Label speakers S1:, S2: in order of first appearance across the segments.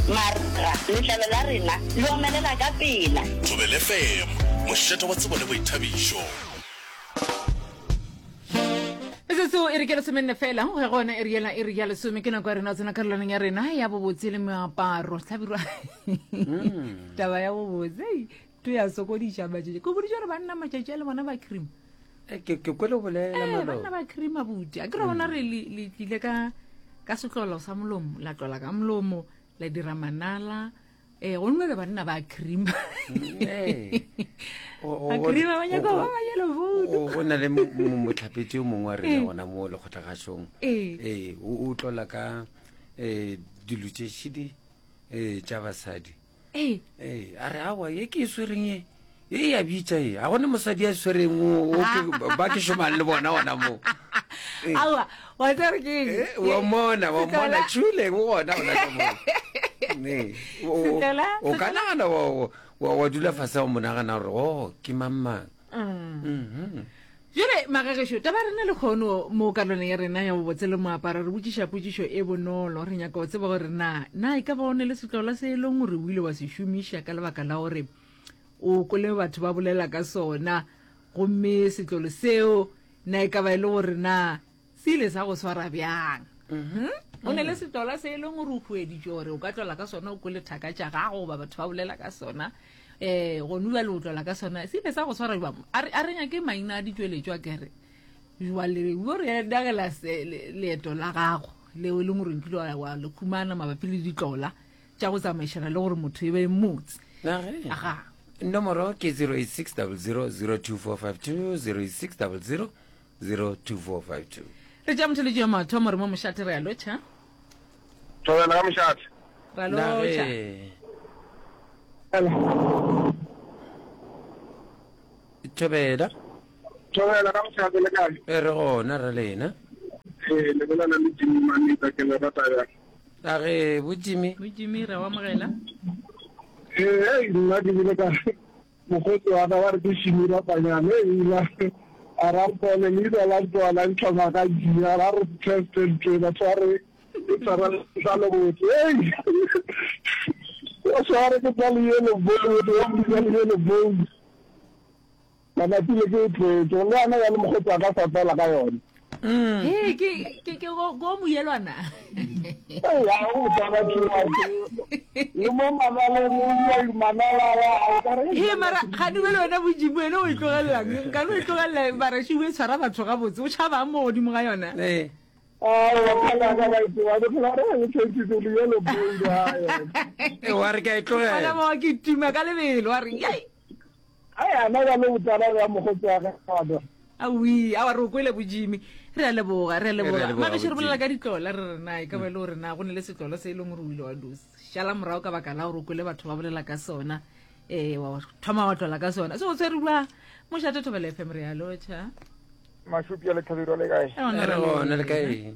S1: Marega, letlalo la rena le omelela ka pela.
S2: Thobela FM, mošate wa tsebo le boithabišo.
S3: Metsotso e re ke lesomenne fela go ya go yona iri yela iri ya lesome ke nako ya rena tsena karolwaneng ya rena ya bobotse le meaparo hlabirwa mm. taba ya bobotse to ya sokodiša matšatši ke boditše gore banna matšatši a le bona ba cream
S4: eh, ke ke kwele bolela eh,
S3: banna ba cream abuti a ke re bona mm. re le tlile ka ka setlolo sa molomo la tlola ka molomo la dira manala ee go nwe le banna ba cream ba cream ba nyaka ba ba yellow vote
S4: go na le motlhapetsi o mongwe wa rena gona mo lekgotlagašong ee o tlola ka um dilo tše šidi um tša basadi ee a re awa ye ke e swereng ye e ya bitša e ga gone mosadi ya swereng ba ke šomang le bona gona mo
S3: eh. aowa wa tsere ke
S4: eh, wa mona wa mona tšhule o gona gona ka mo o ka nagana wa dula fase wa monagana gore o oh, ke mang mang
S3: mm. mm-hmm. jale magagešo taba rena le kgono mo karolong ya rena ya bobotse le moaparo re botšiša potšišo e bonolo re nyaka go tseba gore na na e ka ba o ne le setlola se e leng gore o ile wa se šomiša ka lebaka la gore O kwele batho ba bolela ka sona, gomme setlolo seo na e ka ba e le gore na se ile sa go swara bjang? Mhm. O ne le setlola se e leng gore o hueditšwe gore o ka tlola ka sona o kwele thaka tša gago goba batho ba bolela ka sona um gone bjale o tlola ka sona se ile sa go swara jwang? A re a re nyake maina a ditšweletšwa kere jwale o re dagela leeto la gago leo e leng gore nkile wa le khumana mabapi le ditlola tša go tsamaišana le gore motho e be motse
S4: aga nomoro ke 086 00 02452 086 00 02452
S3: re tša motheletši ya mathomo re mo mošate re a lotšha
S5: thobela ka mošate
S3: ra lotšha
S4: thobela
S5: thobela ka mošate le kae
S4: e re gona re lena
S5: ee le bolela le jimmy manita ke le rata bjang
S4: A re, Bo Jimmy.
S3: Bo Jimmy, re a o amogela.
S5: Ee, hei, nna ke bile ka mokgotsi wa ka ba re ke Shimi Rapanyane, hei, ila a ra mpone leina la ntwa la ntlhoma ka jia, ra re teste ntwe batho ba re ke tshwara letlalo botse, hei, o sware ke tla le yellow bone, wa mpitsa le yellow bone. Mabapi le ke e tloetše, le yena ya le mokgotsi a ka sa tsala ka yona.
S3: Mm. Hey, ke ke ke go go moyelwana.
S5: Ee, ya go tsala tšwa. Le mo manaleng o ya manala a ka re.
S3: He mara ga dumele wena bojibu wena o e tlogelelang. Nka no e tlogelela mara she o e tshwara batho ga botse. O tšhaba mo godimo ga yona.
S4: Ee.
S5: Aowa phela ka ba itse wa phela re le tshwentshitse le yellow bone ha yona.
S4: Ee, wa re ke a e tlogela.
S3: Ona mo ke tuma ka lebelo wa re yai.
S5: Ai, ana ba le botsala bja mokgotsi wa gagwe.
S3: Awi, awa re o kwele bojimi. Re a leboga, re a leboga. Mabeše re bolela ka ditlola re re na e ka ba e le gore na go ne le setlolo se e leng gore o ile wa do šala morago ka baka la gore o kwele batho ba bolela ka sona. Eh wa thoma wa tlola ka sona. Se o tshwere bua. Mošate Thobela FM re a lotšha.
S6: Mašupi a Lethabirwa le kae?
S4: Re gona le kae?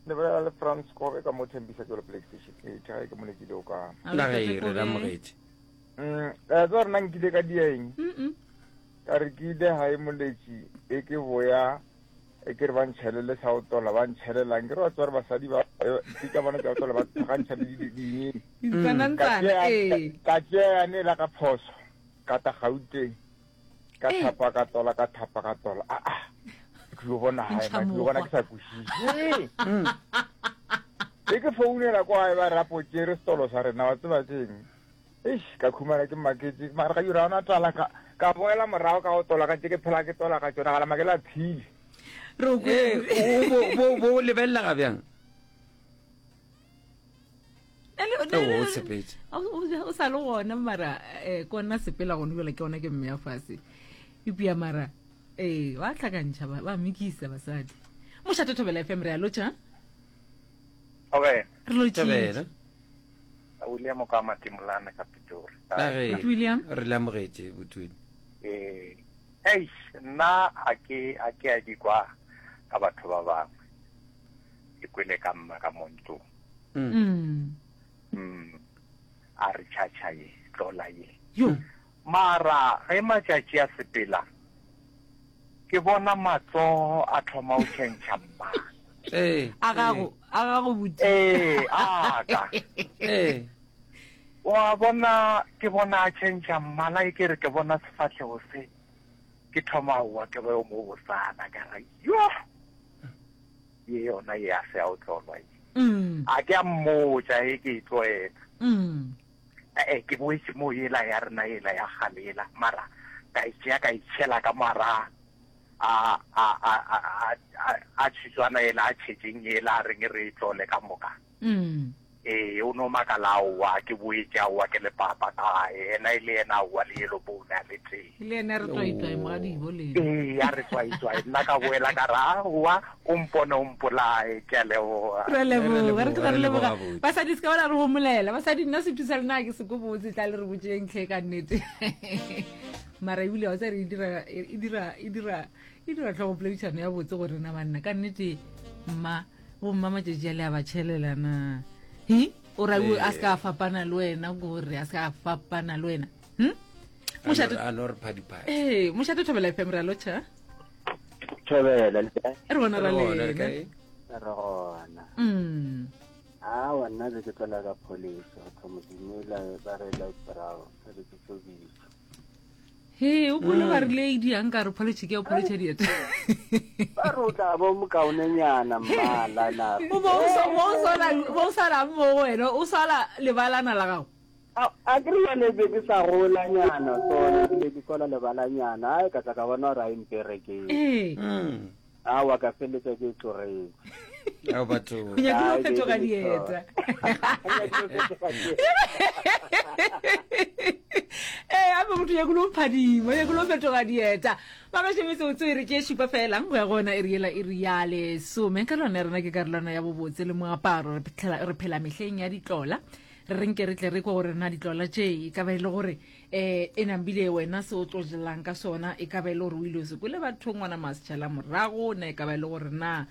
S6: Le bolela le Frans Kobe ka mo Thembisa Jolo Play Station. Ee, tšhae ke molekile o ka.
S4: La ge re amogetše.
S6: Mm, eh, tsa rena nkile ka dia eng ka re ke ile gae moletši e ke boya e ke re ba ntšhelele sa go tola ba ntšhelelang ke re wa tsware basadi ba ke ka bona tsa go tola ba tlhagantšha le ding ka tšea yane la ka phoso ka ta gauteng ka thapa ka tola ka thapa ka tola a a ke yo bona gae ma ke yo bona ke sa kwešiše mm. e ke founela kwa gae ba rapo tšere setolo sa rena wa tseba keng Eish, ka khumana ke maketše, mara ga yura ona tala ka ka boela morago ka go tola ka tše ke phela ke tola ka tšona gala makela phile.
S3: Re o
S4: Ee,
S3: kwele.
S4: o bo bo bo lebelela ga bjang?
S3: Ele-
S4: O o tshepetše.
S3: O o- o sa le gona mara eh kona sepela gone jale ke ona ke mme ya fase. Ipia mara eh ba tlhakantšha ba ba mikisa basadi. Mošate Thobela FM re a lotšha.
S7: Okay.
S3: Re lotšhile.
S4: Thobela.
S7: William ka Matimolane ka Pitori.
S4: A re
S3: William.
S4: Re le amogetše botwini.
S7: Eh, eish, nna a ke a ke a di kwa ka batho ba bangwe. Ke kwele ka mma ka mo ntlong.
S3: Mm.
S7: Mm. A re tšhatšha ye, tlola ye.
S3: Yo.
S7: Mara ge matšatši a sepela, ke bona matsogo a thoma go tšhentšha mmala.
S4: Ee.
S3: A gago, a gago buti.
S7: Ee, a ka.
S4: Ee.
S7: Wa bona, ke bona a tšhentšha mmala e ke re ke bona sefahlego se, ke thoma aowa ke ba yo mo botsana, ka re yoh! Ye yona ye a se ya o tlolwa ye. A ke a mmotša e ke e tloela. E-e, ke boetše mo yela ya rena yela ya kgale yela, mara ka e tšea ka e tšhela ka mara a, a, a, a, a, a, a tšhitswana yela a tšhetšeng yela a reng re e tlole ka moka. Ee, o no makala, aowa, ke boetše, aowa, ke le papa ka gae. Yena e le yena, aowa, le yellow bone a le tee.
S3: E le yena a re tswaitswai mogadibo le
S7: yena. Ee, a re tswaitswai. Nna ka boela ka re, aowa, o mpone o mpolaye. Ke a leboga.
S3: Re a leboga, re tloga re leboga. Basadi se ka ba la re homolela. Basadi, nna setho sa lena ga ke se ko botse, tla le re botšeng tlhe ka nnete. Mara ebile wa tseba re e dira, e dira, e dira, e dira tlhogopoledišano ya botse go rena banna. Ka nnete, mma. Bomma matšatši a le a ba tšhelela na? Hi, o ra a se ka a fapana le wena gore a se ka a fapana le wena. Hm? Mošate
S4: A no re phadiphadi.
S3: Eh, mošate Thobela FM re a lotšha.
S8: Thobela le kae?
S3: Re gona ra
S4: Re gona, re
S3: lena.
S4: kae?
S8: Re gona.
S3: Mm.
S8: Awa nna be ke tlola ka polish go thoma dumela ba re light brown re be ke tsobisa.
S3: He, o kwele ba rile e diang ka re pholetšhe ke ya pholetšha dieta.
S8: Ba re o tla ba o mokaonenyana mmala na.
S3: O bo o sa- bo o sola bo o sala mo go wena, o sala lebalana la gago.
S8: A a ke re jale be ke sa golanyana sone ebile ke sola lebalanyana ai ka tla ka bona gore a e mperekele.
S3: Ee.
S8: Aowa ka feleletša ke e tlogetše.
S4: Ao batho.
S3: O nyakile go fetoga dieta. Ee, ape motho nyakile go phadima, nyakile go fetoga dieta. Ba gašo metsotso e re ke šupa fela go ya go yona e re yela e re ya lesome. Ka lona rena ke karolwana ya bobotse le moaparo. Re phela mehleng ya ditlola. Re re nke re tle re kwe gore na ditlola tše e ka ba e le gore um e nambile wena se o tlo jelang ka sona e ka ba e le gore o ile o se kwele bathong ngwana masetšhala morago na e ka ba e le gore na um.